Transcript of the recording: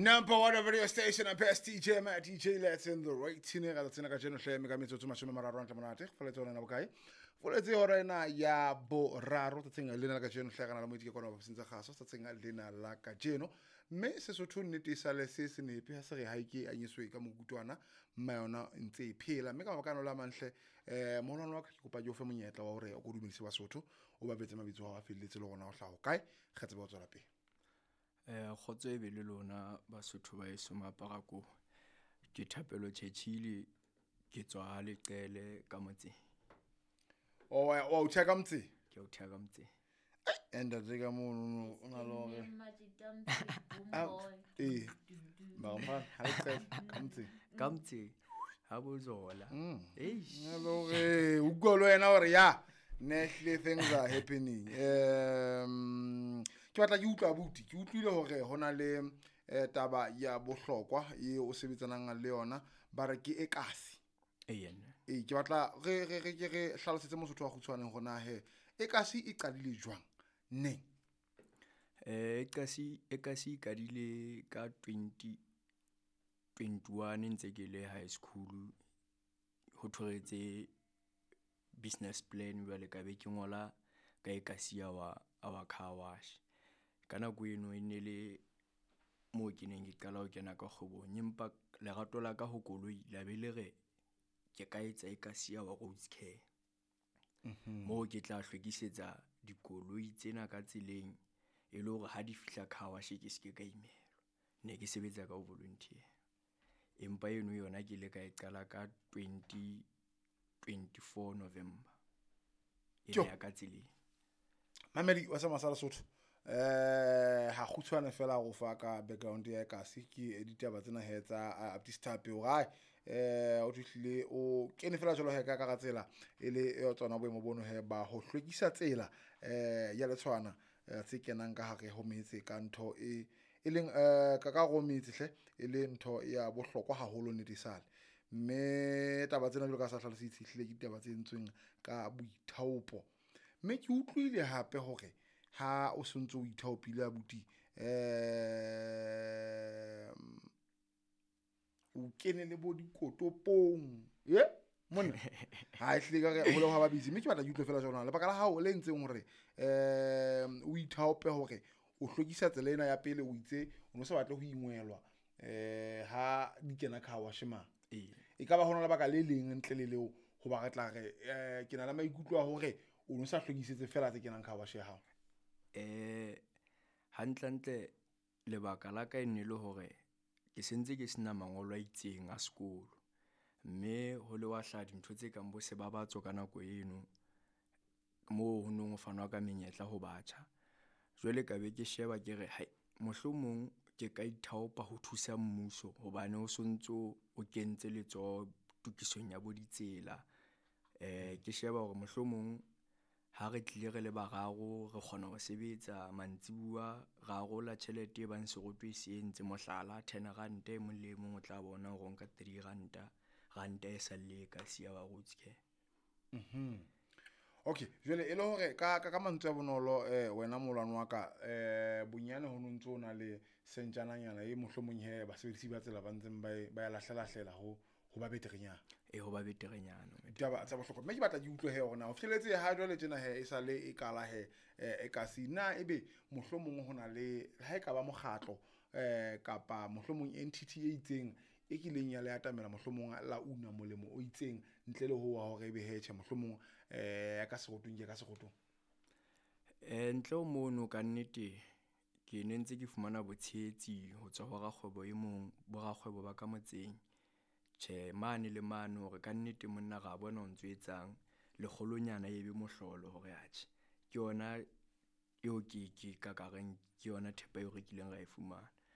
Number one radio station and best DJ ma DJ let's in the right tine ga tsena ka jeno hle me ka metsotso 30 ntle monate go foletse ona bokae foletse hora ena ya boraro tsatsing lena la kajeno hle kana la moitse ke kona ba sentse gaso tsatsing lena la kajeno mme Sesotho nnete e sale se se nepe ha se re ha ke anyiswe ka mokutwana mma yona ntse e phela mme ka mabaka ano la manhle moholwane wa ka ke kopa ke o fe monyetla wa hore o ko dumedise Basotho o ba betse mabitso a felletse le gona o hlaho kae re tsebe ho tswela pele. Kgotso e be le lona Basotho ba heso Maparako. Ke Thapelo Churchill, ke tswa Leqele ka motseng. O wa o thea ka motseng? Ke o thea ka motseng. Ntate ka mono o na le hore ee mara mfana ha Leqele ka motseng. Ka motseng ha bozola. Eish. Na le hore o utlwa le wena hore ya Nashly things are happening. Ke batla ke utlwa abuti, ke utlwile hore hona le taba ya bohlokwa e o sebetsanang le yona ba re ke ekasi. Ee ke batla re re re ke re hlalosetse Mosotho wa kgutshwaneng hore na he ekasi e qadile jwang neng? Ekasi e qadile ka 2021 ntse ke le high school ho thoretse business plan jwale ka be ke ngola ka ekasi ya wa our car wash. Ka nako eno e ne le moo ke neng ke qala ho kena ka kgwebong, empa lerato la ka ho koloi la be le re ke ka etsa ekasi ya wa roads care. Moo ke tla hlwekisetsa dikoloi tsena ka tseleng e le hore ha di fihla car wash ke se ke ka imelwa. Ne ke sebetsa ka ho volunteer. Empa eno yona ke ile ka e qala ka 2024 November. E ya ka tseleng. Mamedi wa sa Masala Sotho. Ha kgutshwane fela go fa ka background ya ekasi ke ditaba tsena he tsa Baptist Thape hore o fihlile o kene fela jwalo he ka ka tsela e le tsona boemo bono he ba ho hlwekisa tsela ya letshwana tse kenang ka hare ho metse ka ntho e leng ka ka ho metse hle e le ntho ya bohlokwa haholo nnete sale mme taba tsena jwalo ka sa hlalositse hlile ke ditaba tse entsweng ka boithaopo mme ke utlwile hape hore ha o sontso o ithaopile abuti o kene le bo dikotopong ye monna ha e hlile ka re ho le ha ba busy mme ke batla ke utlwe fela jona lebaka la hao le entseng hore o ithaope hore o hlwekisa tsela ena ya pele o itse o no sa batle ho ingwelwa ha di kena car wash mang e ka ba hona lebaka le leng ntle le leo ho ba re tla re ke na le maikutlo a hore o no sa hlwekisetse fela tse kenang car wash ya hao. Hantlentle lebaka la ka e ne le hore ke sentse ke sena mangolo a itseng a sekolo mme ho le wa hlaha dintho tse kang bo sebabatso ka nako eno moo ho nong ho fanwa ka menyetla ho batjha. Jwale ka be ke sheba ke re hai mohlomong ke ka ithaopa ho thusa mmuso hobane o sontso o kentse letsoho tokisong ya bo ditsela. Ke sheba hore mohlomong ha re tlile re le bararo re kgona ho sebetsa mantsibuya ra arola tjhelete e bang seroto e se entse mohlala 10 rand e mong le mong o tla bona hore o nka 3 ranta ranta e salle ka siya wa roads care. Okay, jwale e le hore ka ka mantswe a bonolo wena molwane wa ka bonyane ho no ntso o na le sentjananyana e mohlomong he basebedisi ba tsela ba ntseng ba ya lahlela ho ba beterenyana. Ho ba beterenyana. Ditaba tsa bohlokwa. Mme ke batla ke utlwe he hore na o fihleletse ha jwale tjena he e sale e kala he e kasi na ebe mohlomong ho na le ha e ka ba mokgatlo kapa mohlomong entity e itseng e kileng ya le atamela mohlomong la una molemo o itseng ntle le ho wa hore ebe he tjhe mohlomong ya ka serotong ke ka serotong. Ntle ho mono ka nnete ke ne ntse ke fumana botshehetsi ho tswa ho rakgwebo e mong bo rakgwebo ba ka motseng. Tjhe mane le mane hore ka nnete monna ra bona o ntso etsang lekgolonyana e be mohlolo hore atjhe ke yona eo ke ka kareng ke yona thepa eo re kileng ra e fumana.